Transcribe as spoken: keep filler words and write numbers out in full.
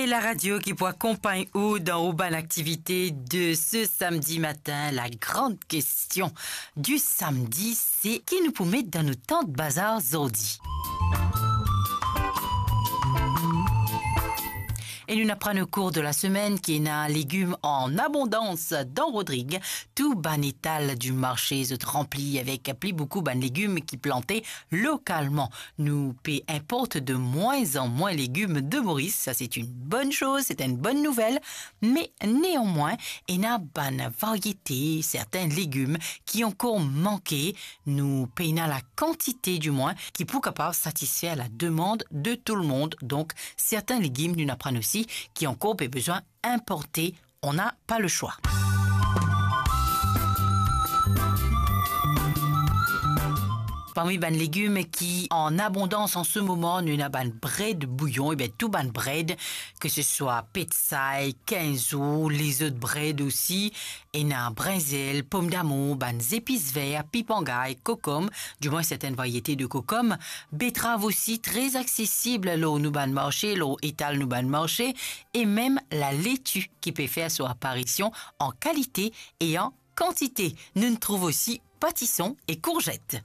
La radio ki pou akonpagn ou dan ou bann aktivite de ce samedi matin. La grande question du samedi, se ki nou pou met dan nou tant bazar zordi. E nou aprann au cours de la semaine ki ena legim an abondans dan Rodrig. Tou bann etal du marché zot ranpli avek pli boukou bann legim ki plante lokalman. Nou pe inport de moins en moins legim de Moris. Sa, se une bonne chose, se enn bonn nouvel. Me neanmwin, ena bann variete, sertin legim ki ankor manke. Nou pena la kantite, dimwin, ki pou kapav satisfer la demande de tout le monde. Donk, sertin legim, nou aprann osi, ki ankor pe bizin inporte. On n'a pas le choix. Parmi bann legim ki an abondans an se moman, nou ena bann bred bouyon, e bien, tou bann bred, ke se swa petsay, kinzo, lezot bred osi, ena brinzel, pomdamour, bann zepis ver, pipangay, kokom, dimwin sertin variete de kokom, betrav osi, tre aksesib lor nou bann marse, lor etal nou bann marse, e mem laleti ki pe fer so aparision an kalite e an kantite. Nou trouv osi patison e kourzet.